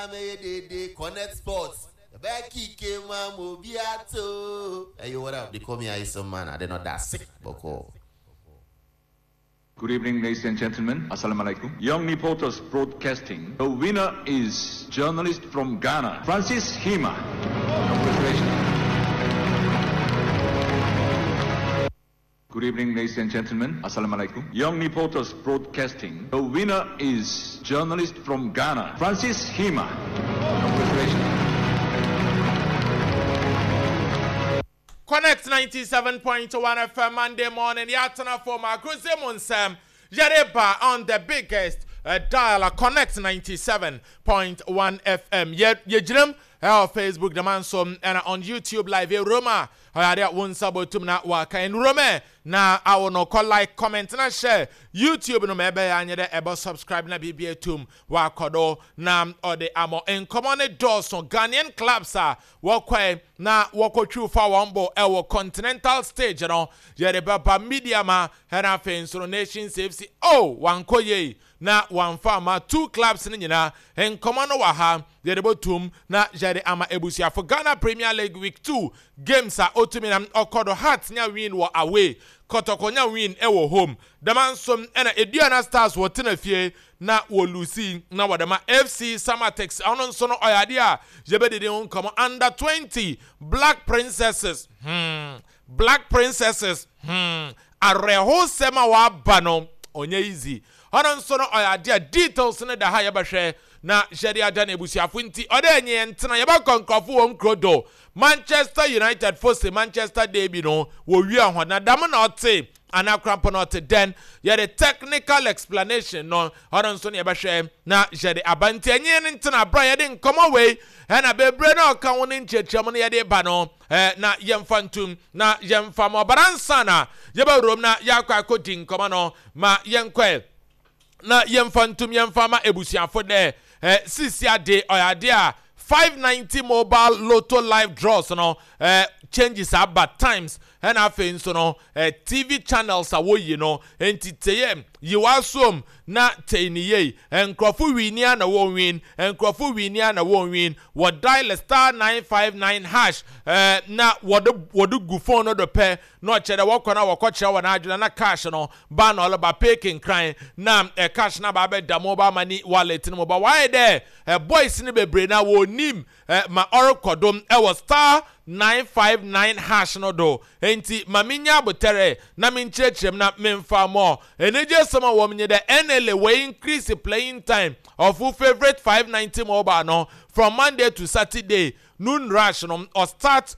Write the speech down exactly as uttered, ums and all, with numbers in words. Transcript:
Mɛyɛ dede Connect Sports. Yɛbɛyɛ kike ma mo bi ato. Hey, what up? They call me Aisa Man. I did not that sick, but Good evening, ladies and gentlemen. Assalamu alaikum. Young Reporters Broadcasting. The winner is journalist from Ghana, Francis Hima. Congratulations. Good evening, ladies and gentlemen. Assalamu alaikum. Young Reporters Broadcasting. The winner is journalist from Ghana, Francis Hima. Congratulations. Connect ninety-seven point one F M, Monday morning. Yatana for my Nsem. Yereba on the biggest uh, dial, Connect ninety-seven point one F M. Ye Yejrim uh, Facebook the man so and on YouTube live Roma. Ɔyade wo nsa bɔtum na waka nrome na awo no kɔ like, comment na share. YouTube no ma ɛbɛyɛ anyɛ dɛ ɛbɔ subscribe na biribi atum wakɔdo na ɔde amɔ. Nkɔmɔ ne dɔɔso. Ghanaian clubs a wɔkɔɛ na wɔkɔtwiw fa wɔn bɔ ɛwɔ continental stage no, yɛde bɛba Medeama ɛna afei nso no Nations F C. Oh, wankɔ yie na wamfa ama two clubs no nyinaa. Nkɔmɔ no wɔ ha, yɛde bɔtum na yɛde ama ebusuafo. Ghana Premier League week two games a otumi na ɔkɔ do, Hearts nya win wɔ away, Kɔtɔkɔ nya win ɛwɔ home. Dɛm nso ɛna Aduana Stars wɔtena fie na wɔ lose na wɔde ma F C Samatex. Ɔno nso no ɔyɛ adeɛ a yɛbɛdidi ho nkɔmɔ. Under twenty Black Princesses, hmm Black Princesses, hmm awerɛhosɛm a waba no ɔnyɛ easy. Ɔno nso no ɔyɛ adeɛ a details no da ha, yɛbɛhwɛ na hyɛde ada no abusuafo. Nti ɔdɛ ɛnyɛ yɛn ntena yɛbɛkɔ nkurɔfo wɔn kuro do. Manchester United fo se Manchester derby no wɔwie ho na dam na ɔte anakrampo na ɔte dɛn. Yɛde technical explanation no, ɔno nso no yɛbɛhwɛ na yɛde aba. Nti ɛnyɛ no ntena abra yɛde nkɔmmɔ wei ɛna bebree na ɔka ho ne nkyerɛkyerɛmu no yɛde ba no ɛɛ na yɛmfa ntum na yɛmfa ma ɔbara nsa na yɛbɛwurom na yɛakɔ akɔdi nkɔmmɔ no ma yɛnkɔɛ na yɛmfa ntum yɛmfa ma ebusuafo dɛ ɛ sisi ade ɔyɛ ade a five ninety mobile lotto live draws no ɛ changes aba times, ɛna afei nso no ɛ T V channels a wɔyi no. Nti teyɛ yiwa som na tey ne yie. Nkurɔfo win a na wɔn win, nkurɔfo win a na wɔn win. Wɔ dial star nine five nine hash ɛɛ na wɔde wɔde gu phone no do pɛ na ɔkyerɛ dɛ wɔkɔ na wɔkɔ kyerɛ wɔn adwene na cash no ba na ɔleba pay kenkran na ɛ cash na ba abɛda mobile money wallet no mu ba. Wɔayɛ dɛ ɛ boys no bebree na wɔnim ɛ ma ɔrekɔ dom ɛwɔ star nine five nine hash no do. Nti maame nya abotɛrɛ na me nkyerɛkyerɛ mu na memfa mɔ enegye sɛm a wɔn nye dɛ N L A wɔ increase playing time of wo favourite five ninety mobile no from Monday to Saturday noon rush no ɔstart.